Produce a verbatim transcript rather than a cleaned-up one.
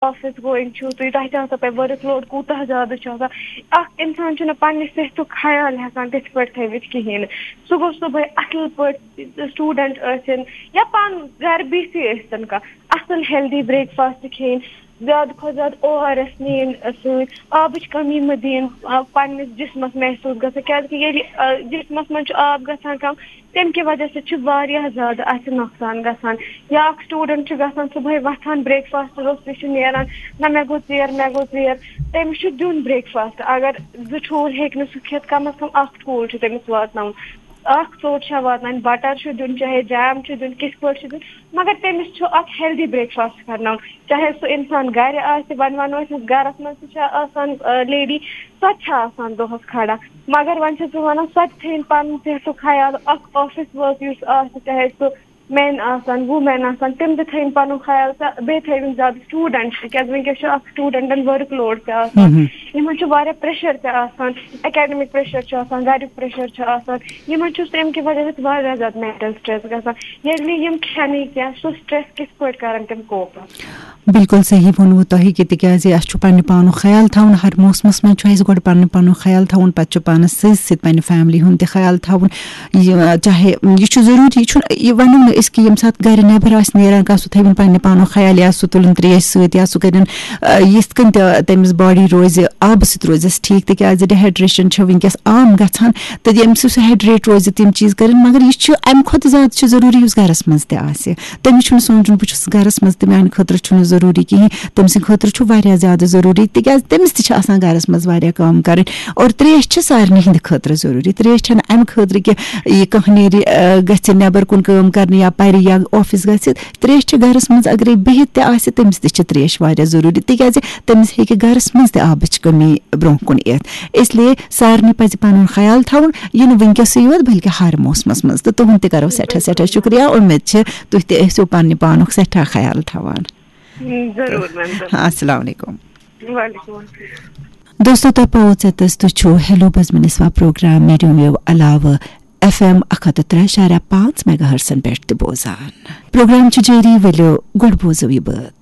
Office going چھُو تُہۍ، تۄہہِ تہِ آسان پَے ؤرٕک لوڈ کوٗتاہ زیادٕ چھُ آسان۔ اکھ اِنسان چھُنہٕ پننہِ صحتُک خیال ہٮ۪کان تِتھ پٲٹھۍ تھٲوِتھ کِہیٖنۍ۔ سُہ گوٚژھ صُبحٲے اَصٕل پٲٹھۍ، سٹوٗڈنٛٹ ٲسِن یا پانہٕ گرِ بِہتھٕے ٲسِن کانٛہہ، اَصٕل ہیلدی بریک فاسٹ کھیٚنۍ، زیادٕ کھۄتہٕ زیادٕ او آر ایس نِنۍ سۭتۍ، آبٕچ کمی مہٕ دِنۍ آ، پننِس جسمس محسوٗس گژھان، کیازِ کہِ ییٚلہِ آ، جسمس منٛز چھُ آب گژھان کم، تمہِ کہِ وجہ سۭتۍ چھُ واریاہ زیادٕ اَسہِ نۄقصان گژھان۔ یا اکھ سٹوٗڈنٛٹ چھُ گژھان صُبحٲے وۄتھان، بریک فاسٹ روٚستُے چھُ نیران، نہ مےٚ گوٚو ژیر، مےٚ گوٚو ژیر۔ تٔمِس چھُ دیُن بریک فاسٹ، اگر زٕ ٹھوٗل ہیٚکہِ نہٕ سُہ کھٮ۪تھ، کم از کم اکھ ٹھوٗل چھُ تٔمِس واتناوُن۔ اکھ ژوٚٹ چھےٚ واتناوٕنۍ، بٹر چھُ دیُن، چاہے جیم چھُ دیُن، کِتھ پٲٹھۍ چھُ دیُن، مگر تٔمِس چھُ اکھ ہیلدی بریک فاسٹ کرناوُن۔ چاہے سُہ انسان گرِ آسہِ، وۄنۍ ونو أسۍ، گرس منٛز تہِ چھےٚ آسان لیڈی، سۄ تہِ چھےٚ آسان دۄہس کھڑا۔ مگر وۄنۍ چھَس بہٕ وَنان، سۄ تہِ تھٲیِن پَنُن صحتُک خیال۔ اَکھ آفِس ؤرک یُس آسہِ، چاہے سُہ مین آسَن، ووٗمین آسَن، تِم تہِ تھٲیِن پَنُن خیال تہٕ بیٚیہِ تھٲیِن زیادٕ سٹوٗڈنٛٹ، تِکیٛازِ وٕنکیٚس چھُ اَکھ سٹوٗڈنٛٹَن ؤرٕک لوڈ تہِ آسان، یِمَن چھُ واریاہ پریشر تہِ آسان، اکیڈمک پریشر چھُ آسان، گَریُک پریشر چھُ آسان، یِمَن چھُ تَمہِ کہِ وجہ سۭتۍ واریاہ زیادٕ مینٹل سٹریس گژھان۔ ییٚلہِ نہٕ یِم کھٮ۪نٕے کینٛہہ، سُہ سٹریس کِتھ پٲٹھۍ کَرَن تِم کوپ؟ بِلکُل صحیح ووٚنوُ تۄہہِ کہِ تِکیٛازِ اَسہِ چھُ پننہِ پانُک خیال تھاوُن۔ ہر موسمَس منٛز چھُ اَسہِ گۄڈٕ پننہِ پانُک خیال تھاوُن، پَتہٕ چھُ پانَس سۭتۍ سۭتۍ پننہِ فیملی ہُنٛد تہِ خیال تھاوُن۔ یہِ، چاہے یہِ چھُ ضروٗری، یہِ چھُنہٕ، یہِ وَنو نہٕ أسۍ کہِ ییٚمہِ ساتہٕ گَرِ نٮ۪بر آسہِ نیران کانٛہہ، سُہ تھٲوِن پننہِ پانُک خیال، یا سُہ تُلُن ترٛیش سۭتۍ، یا سُہ کٔرِن، آ، یِتھ کٔنۍ تہِ تٔمِس باڈی روزِ، آبہٕ سۭتۍ روزٮ۪س ٹھیٖک، تِکیٛازِ ڈِہایڈریشن چھِ وٕنکیٚس عام گژھان۔ تہٕ ییٚمہِ سۭتۍ سُہ ہایڈریٹ روزِ، تِم چیٖز کٔرِن۔ مگر یہِ چھُ اَمہِ کھۄتہٕ زیادٕ چھُ ضروٗری یُس گَرَس منٛز تہِ آسہِ۔ تٔمِس چھُنہٕ سونٛچُن، بہٕ چھُس گَرَس منٛز تہٕ میٛانہِ خٲطرٕ چھُنہٕ ضروٗری کِہیٖنۍ۔ تٔمۍ سٕنٛدِ خٲطرٕ چھُ واریاہ زیادٕ ضروٗری، تِکیٛازِ تٔمِس تہِ چھِ آسان گَرَس منٛز واریاہ کٲم کَرٕنۍ۔ اور ترٛیش چھِ سارنٕے ہِنٛدِ خٲطرٕ ضروٗری۔ ترٛیش چھَنہٕ اَمہِ خٲطرٕ کہِ یہِ کانٛہہ نیرِ، آ، گژھِ نٮ۪بر کُن کٲم کَرنہِ یا پَرِ یا آفِس گژھِ۔ ترٛیش چھِ گَرَس منٛز اگرے بِہِتھ تہِ آسہِ، تٔمِس تہِ چھِ ترٛیش واریاہ ضروٗری، تِکیٛازِ تٔمِس ہیٚکہِ گَرَس منٛز تہِ آبٕچ کٔمی برٛونٛہہ کُن یِتھ۔ اس لیے سارنٕے پَزِ پَنُن خیال تھاوُن، یہِ نہٕ وٕنکیٚسٕے یوت، بلکہِ ہر موسمَس منٛز۔ تہٕ تُہُنٛد تہِ کَرو سٮ۪ٹھاہ سٮ۪ٹھاہ شُکریہ۔ اُمید چھِ تُہۍ تہِ ٲسِو پننہِ پانُک سٮ۪ٹھاہ خیال تھاوان۔ ضروٗر میم، ضروٗر۔ السلام علیکم۔ وعلیکم السلام۔ دوستو، تۄہہِ پاوو ژےٚ تہٕ تُہۍ چھِو ہیلو بزمِ نسواں پروگرام میڈیم ویو علاوٕ ایف ایم اکھ ہتھ تہٕ ترٛےٚ اعشاریہ پانٛژھ میگا ہرٹزن پٮ۪ٹھ تہِ بوزان۔ پروگرام چھُ جٲری، ؤلِو گۄڈٕ بوزو یہِ بٲتھ۔